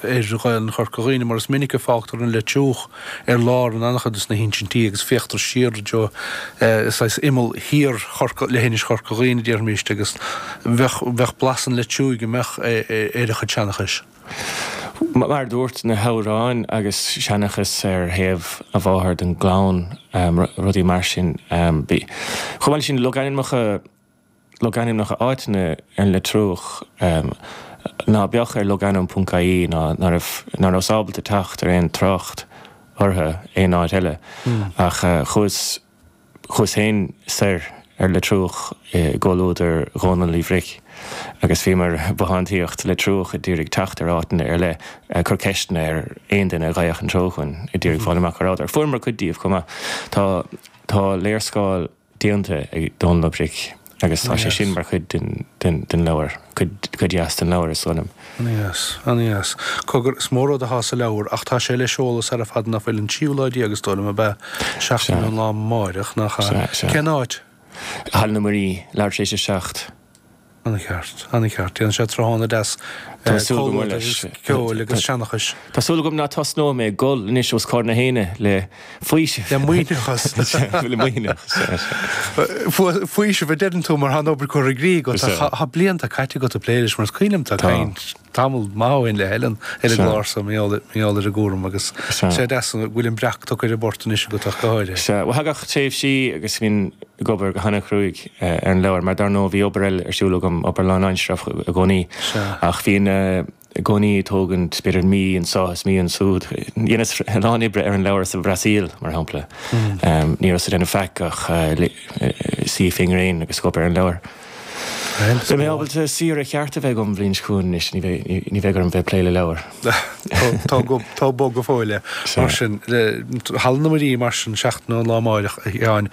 ar Ghaelainn Chorca Dhuibhne mar is minic a fágtar an Leitriúch ar lár in an-chuid de na hinsintí agus féachtar siar i dtreo saghas imeall thiar Chorca, leithinis Chorca Dhuibhne déarfaimis agus bheadh, bheadh blas an Leitriúigh an mbeadh ar a chuid seanchais. Mar a dúirt, na hamhráin agus seanchas ar thaobh a mháthar den gclann, rudaí mar sin. Chomh maith leis sin, logainmneacha, logainmneacha áiteanna ar an Leitriúch ná beadh ar logainm.ie ná ná raibh, ná rabhas ábalta teacht ar aon trácht orthu aon áit eile. Ach chuas. Chuas féin soir ar Leitriúch i gcomhluadar Dhónaill Uí Bhric agus bhíomar ag bothántaíocht Leitriúch ag iarraidh teacht ar áiteanna ar leith, ag cur ceisteanna ar aon duine a gheibheadh an treo chugainn, ag iarraidh fáil amach cá rabhadar. Fuaireamar cuid díobh chomh maith. Tá tá léarscáil déanta ag Dónall Ó Bric agus tá sé sin mar chuid den den leabhar, cuid cuid dheas den leabhar is dóigh liom. Ana-dheas, ana-dheas. Cogar, is mór rud athá sa leabhar, ach tá sé le seoladh sara fada ná fuil, an tríú lá déag is dóigh liom, ab ea? Seachtain ón lá amáireach, nach ea? Sea, sea. Cén áit? Halla na Muirí, leathuair tar éis a 7. Ana-cheart, ana-cheart. Déanann sé tráthnóna deas Tá súil agam comhluadar leis. agus ceoil agus seanchais. Tá súil agam ná tosnóidh mé ag gol anois os comhair na héinne le faoiseamh. Le maoithneachas. Le maoithneachas, sea, sea. Faoiseamh a deireann tú mar tá an obair curtha i gcrích agat. Sea. Tá blianta caite agat ag plé leis mar is cuimhin liom tú ag caint tamall maith ó shin le Helen ar an gclár so mar gheall ar an gcúram agus sé deas go bhfuil an breac tugtha ar an bport anois agat ach go háirithe. Sea, bhuel thagadh tréimhsí agus bhínn ag obair go hana-chruaidh ar an leabhar mar dar ndóigh bhí obair eile ar siúl agam, obair lánaimseartha i gcónaí ach bhínn i gcónaí ag tógaint b'fhéidir mí anso is mí ansúd. Dheineas a lán oibre ar an leabhar sa Bhrasaíl, mar shampla. Ní rabhas ag déanamh faic ach suí fén ngréin agus ag obair ar an leabhar. Beidh mé ábalta saoire cheart a bheith agam an bhliain seo chugainn anois, ní bheidh orm bheith ag plé le leabhar. Tá bog go fóill é. Mar sin, Halla na Muirí mar sin, seachtain ón lá amáireach, a Sheáin,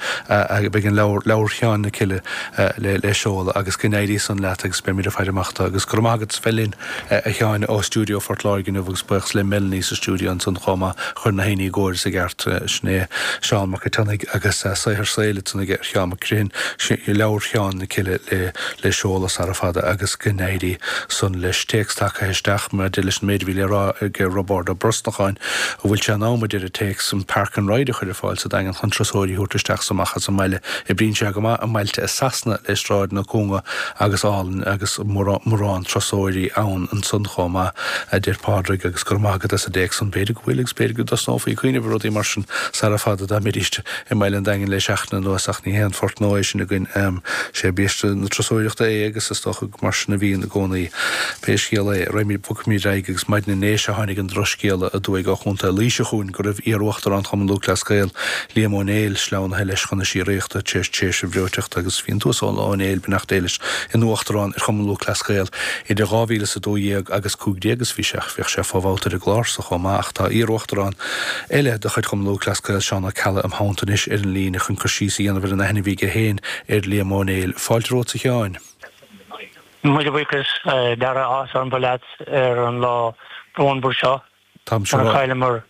beidh an leabhar, Leabhar Sheáin na Cille, le seoladh agus go n-éirí san leat agus beimid ag faire amach dó agus go raibh maith agat as bheith linn, a Sheáin, ó stiúideo Phort Láirge inniu agus buíochas le Melanie sa stiúideo ansan chomh maith a chuir na héinní i gcóir is i gceart. Sin é Seán Mac an tSionnaigh agus saothar saoil ansan aige ar Sheán Mac Crimthainn, Leabhar Sheáin na Cille le seoladh sara fada agus go n-éirí san leis. Téacs tagtha isteach maidir leis an méid a bhí le rá ag Roibeárd Ó Brosnacháin, an bhfuil sé in am, a deir an téacs, an Park and Ride a chur ar fáil sa Daingean chun turasóirí a thabhairt isteach is amach as an mbaile. Oibríonn sé go maith i mbailte i Sasana le sráideanna cúnga agus álainn agus mórán turasóirí ann ansan chomh maith, a deir Pádraig, agus go raibh maith agat as an dtéacs san. B'fhéidir go bhfuil agus b'fhéidir go dtosnófaí ag cuimhneamh ar rudaí mar sin sara fada dá mbeidís i mbaile an Daingin le seachtain anuas ach ní haon phort nua é sin againn. Sé biaiste na turasóireachta é agus is dócha gur mar sin a bhíonn i gcónaí. Pé scéal é, raghaimid, bogfaimid ar aghaidh agus maidin inné sea tháinig an drochscéala aduaidh ó Chontae Laoise chugainn go raibh iar-Uachtarán Chumann Lúthchleas Gael, Liam Ó Néill, sleamhnaithe leis chun na síoraíochta tar éis tréimhse bhreoiteachta agus bhí an tUasal Ó Néill, beannacht Dé leis, ina Uachtarán ar Chumann Lúthchleas Gael idir 2012 agus 15 agus bhí sé, bhíodh sé fo-bhabhta ar an gclár so chomh maith ach tá iar-Uachtarán eile de chuid Chumann Lúthchleas Gael, Seán Ó Ceallaigh, im theannta anois ar an líne chun cur síos a dhéanamh ar an aithne a bhí aige féin ar Liam Ó Néill. Fáilte romhat a Sheáin. Míle buíochas, a Dhara, áthas orm bheith leat ar an lá brónmhar seo. Táimse Nuair a chailleamar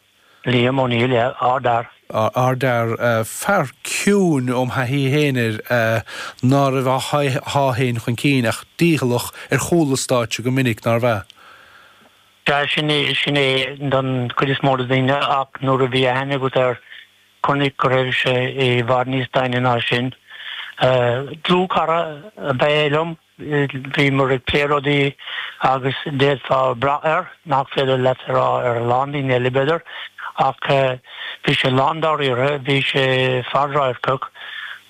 Liam Ó Néill, ardfhear. Ardfhear, fear ciúin óm thaithí féin air, ná raibh á shá féin chun cinn ach dícheallach ar chúl an stáitse go minic, nárbh ea? Sea, sin é, sin é don chuid is mó de dhaoine ach nuair a bhí aithne agat air, chonaic go raibh sé i bhfad níos doimhne ná sin. Dlúthchara ab ea é liom. Bhíomar ag plé rudaí agus d'fhéadfá brath air, nach féidir leat a rá ar a lán daoine eile, b'fhéidir, ach bhí sé lándáiríre, bhí sé fadradharcach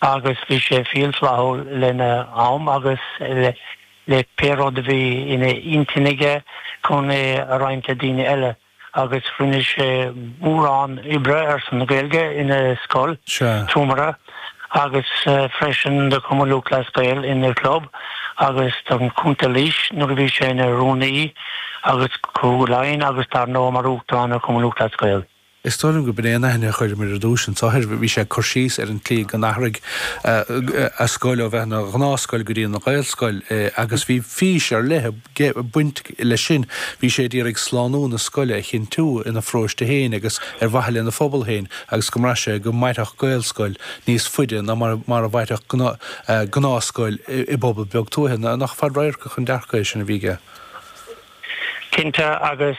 agus bhí sé fial flaithiúil lena am agus le pé rud a bhí ina intinn aige chun é a roinnt le daoine eile. agus rinne sé mórán oibre ar son na Gaeilge ina scoil, Trumara, agus freisin do Chumann Lúthchleas Gael ina chlub agus don Chontae Laois nuair a bhí sé ina rúnaí agus Cúige Laighean agus dar ndóigh mar Uachtarán ar Chumann Lúthchleas Gael. Is dóigh liom go b'in é an aithne a chuireamar ar dtús anso air. Bhí sé ag cur síos ar an tslí go n-athraigh a scoil ó bheith ina ghnáthscoil go dtí ina Ghaelscoil agus bhí fís ar leith ag baint leis sin. Bhí sé ag iarraidh slánú na scoile a chinntiú ina pharóiste féin agus ar mhaithe lena phobal féin agus go mbraith sé go mairfeadh Gaelscoil níos faide ná mar a mhairfeadh gnáthscoil i bpobal beag tuaithe. Nach fadradharcach an dearcadh é sin a bhí aige? Cinnte, agus.